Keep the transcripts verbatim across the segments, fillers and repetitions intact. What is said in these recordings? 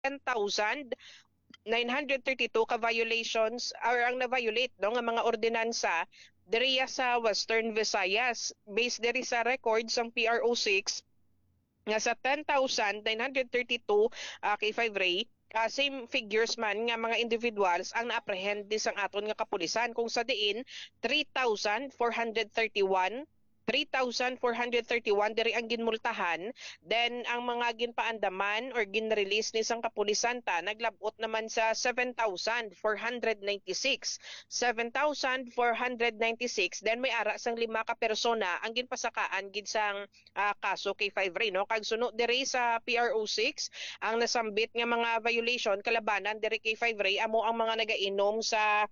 ten thousand nine hundred thirty-two ka violations or ang na-violate, no, nga mga ordinansa diriya sa Western Visayas. Based diri sa records sang P R O six, nga sa ten thousand nine hundred thirty-two, ah, K five Ray, ah, same figures man nga mga individuals ang na-apprehend ni sang aton nga kapulisan, kung sa diin three thousand four hundred thirty-one, three thousand four hundred thirty-one diri ang ginmultahan, then ang mga ginpaandaman or ginrelease ni sang kapulisan ta naglab-ot naman sa seven thousand four hundred ninety-six. Seven thousand four hundred ninety-six, then may ara sang lima ka persona ang ginpasakaan gid sang, ah, kaso K five Ray, no? Kag suno diri sa P R O six, ang nasambit nga mga violation kalabanan diri K five Ray amo ang mga nagainom sa,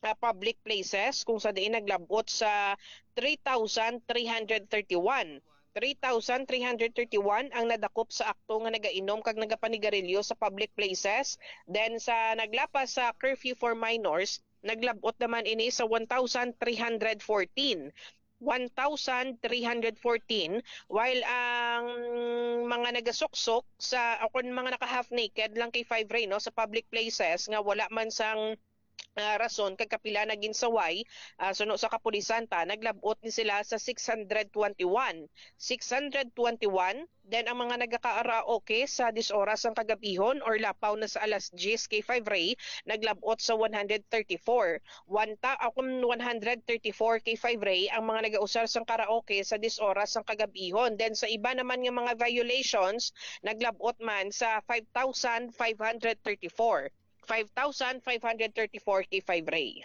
ah, public places, kung sa diin naglab-ot sa three thousand three hundred thirty-one. Three thousand three hundred thirty-one ang nadakop sa akto nga nagainom kag nagapanigarilyo sa public places. Then sa naglapas sa curfew for minors, naglab-ot naman ini sa one thousand three hundred fourteen. One thousand three hundred fourteen, while ang mga nagasuksok sa, o kung mga naka-half naked lang K five Ray, no, sa public places nga wala man sang, ah, rason kag kapila na ginsaway, ah, suno sa kapulisan ta, naglab-ot ni sila sa six hundred twenty-one. Six hundred twenty-one, then ang mga nagakaraoke sa dis oras sang kagabihon or lapaw na sa alas diyes K five Ray, naglab-ot sa one hundred thirty-four. One ta-, ah, kung one hundred thirty-four K five Ray ang mga nagausar sang karaoke sa dis oras sang kagabihon. Then sa iba naman nga mga violations, naglab-ot man sa five thousand five hundred thirty-four. Five thousand five hundred thirty-four K five Ray.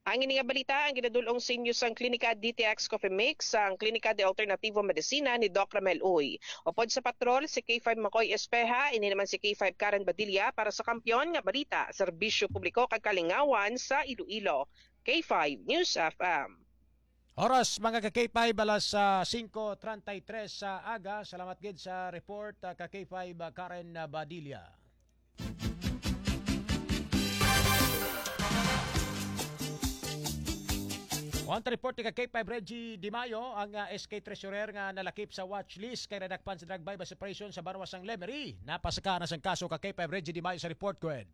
Ang ini nga balita ang ginadul-ong sa inyo sang Klinika D T X Coffee Mix, sang Klinika de Alternativo Medicina ni Doc Ramel Uy. Upod sa patrol, si K five Makoy Espeha, ini naman si K five Karen Badilla para sa Kampiyon nga Balita, Serbisyo Publiko kag Kalingawan sa Iloilo. K five News F M. Oras, mga ka K five, alas, ah, singko treinta y tres sa aga. Salamat gid sa report, ah, ka K five, ah, Karen, ah, Badilla. One report ni ka K five Reggie Di Mayo, ang, ah, S K Treasurer nga nalakip sa watch list kay nadakpan sa drug buy-bust operation sa banwa sang Lemery. Napasaka na sang kaso ka K five Reggie Di Mayo sa report, go ahead.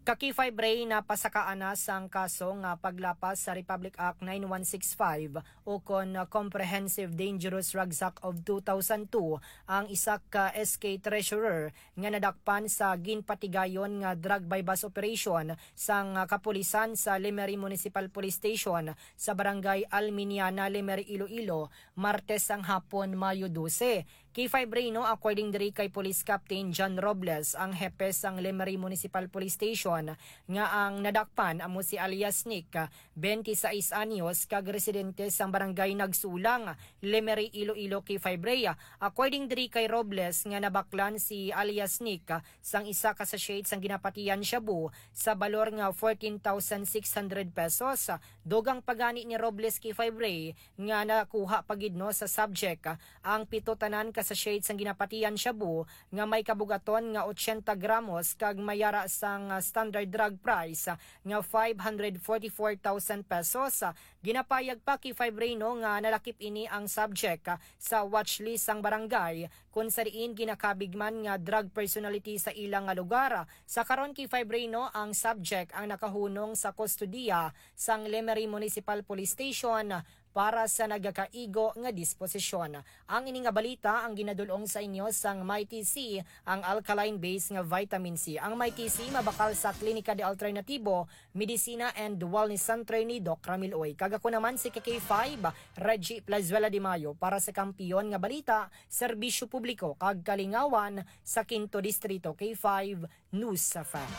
Ka K five Ray, napasakaan na sang kaso nga paglapas sa Republic Act nine one six five o kon Comprehensive Dangerous Drugs Act of two thousand two ang isa ka S K treasurer nga nadakpan sa ginpatigayon nga drug buy-bust operation sang kapulisan sa Lemery Municipal Police Station sa Barangay Alminiana, Lemery, Iloilo, Martes sang hapon, Mayo dose. K five Ray, no, according diri kay Police Captain John Robles, ang hepe sang Lemery Municipal Police Station, nga ang nadakpan amo si alias Nick, twenty-sais anyos, kag residente sang Barangay Nagsulang, Lemery, Iloilo, K five Ray. According diri kay Robles, nga nabaklan si alias Nick sang isa ka sachet sang ginapatian shabu sa balor nga fourteen thousand six hundred pesos. Dugang pa gani ni Robles, K five Ray, nga nakuha pa gid, no, sa subject ang pito tanan ka sachet sang ginapatian shabu nga may kabugaton nga ochenta gramos kag may ara sang, ah, standard drug price, ah, nga five hundred forty-four thousand pesos. Ginapayag pa K five Ray, no, nga nalakip ini ang subject, ah, sa watch list sang barangay, kun sa diin ginakabig man nga drug personality sa ila nga lugar. Sa karon, K five Ray, no, ang subject ang nakahunong sa kustodiya sang Lemery Municipal Police Station para sa nagakaigo nga disposisyon. Ang ini nga balita ang ginadul-ong sa inyo sang Mighty C, ang alkaline base nga vitamin C. Ang Mighty C mabakal sa Klinika de Alternativo, Medicina and Wellness Center ni Doc Ramil Uy. Kag ako naman si K five, Reggie Plazuela de Mayo para sa Kampiyon nga Balita, Serbisyo Publiko kag Kalingawan sa Quinto Distrito, K five News F M.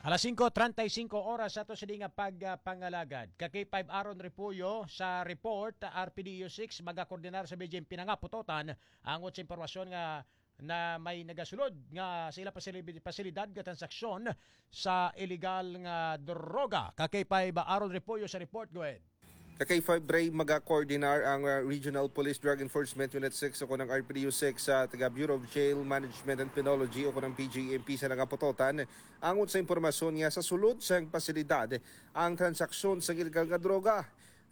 Alas singko treinta y cinco oras sa to sini nga pagpangalagad. Ka K five Aaron Repollo sa report, R P D U six magakoordinar sa B J M P nga putotan angot sa impormasyon nga na may nagasulod nga sa ila pasili-, pasilidad nga transaksyon sa illegal nga droga. Ka K five Aaron Repollo sa report, go ahead. Ka K five Ray, magakoordinar ang, uh, Regional Police Drug Enforcement Unit six o kon ang R P D U six sa taga Bureau of Jail Management and Penology o kon ang B J M P sa nangaputotan angot sa impormasyon nga sa sulod sang pasilidad ang transaksyon sa illegal nga droga.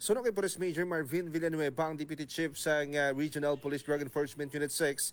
Suno kay Police Major Marvin Villanueva, ang Deputy Chief sang, ah, Regional Police Drug Enforcement Unit six,